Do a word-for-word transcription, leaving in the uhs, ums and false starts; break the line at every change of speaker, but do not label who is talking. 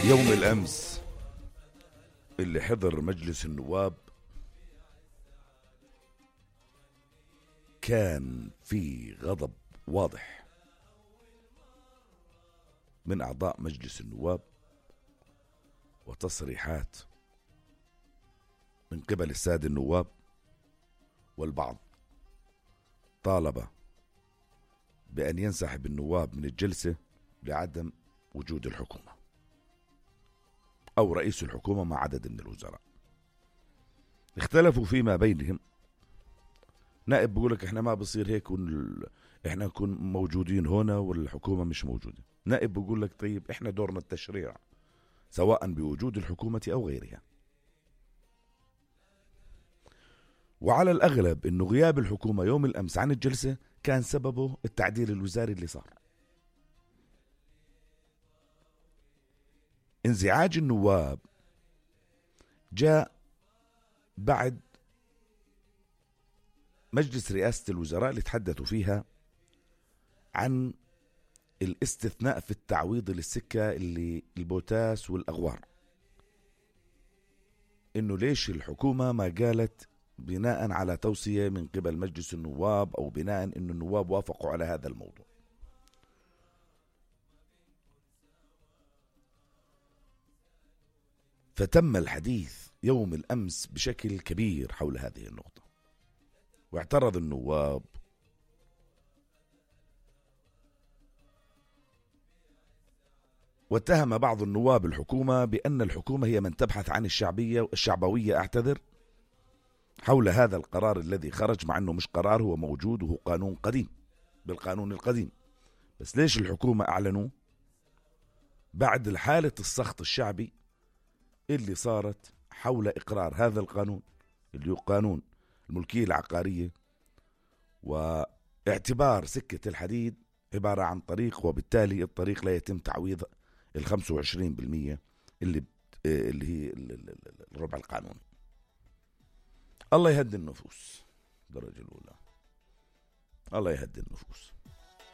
يوم الأمس اللي حضر مجلس النواب كان في غضب واضح من أعضاء مجلس النواب وتصريحات من قبل السادة النواب، والبعض طالب بأن ينسحب النواب من الجلسة لعدم وجود الحكومة أو رئيس الحكومة مع عدد من الوزراء. اختلفوا فيما بينهم. نائب بيقولك احنا ما بصير هيك ون... احنا نكون موجودين هنا والحكومة مش موجودة. نائب بيقولك طيب احنا دورنا التشريع سواء بوجود الحكومة أو غيرها. وعلى الأغلب إنه غياب الحكومة يوم الأمس عن الجلسة كان سببه التعديل الوزاري اللي صار. انزعاج النواب جاء بعد مجلس رئاسة الوزراء اللي تحدثوا فيها عن الاستثناء في التعويض للسكة اللي البوتاس والأغوار، إنه ليش الحكومة ما قالت بناء على توصية من قبل مجلس النواب أو بناء إنه النواب وافقوا على هذا الموضوع. فتم الحديث يوم الأمس بشكل كبير حول هذه النقطة، واعترض النواب واتهم بعض النواب الحكومة بأن الحكومة هي من تبحث عن الشعبية الشعبوية أعتذر حول هذا القرار الذي خرج، مع أنه مش قرار، هو موجود وهو قانون قديم بالقانون القديم. بس ليش الحكومة أعلنوا بعد الحالة السخط الشعبي اللي صارت حول إقرار هذا القانون اللي هو قانون الملكية العقارية، واعتبار سكة الحديد عبارة عن طريق، وبالتالي الطريق لا يتم تعويض الخمسة وعشرين بالمية اللي اللي هي الربع القانوني. الله يهدي النفوس درجة الأولى، الله يهدي النفوس.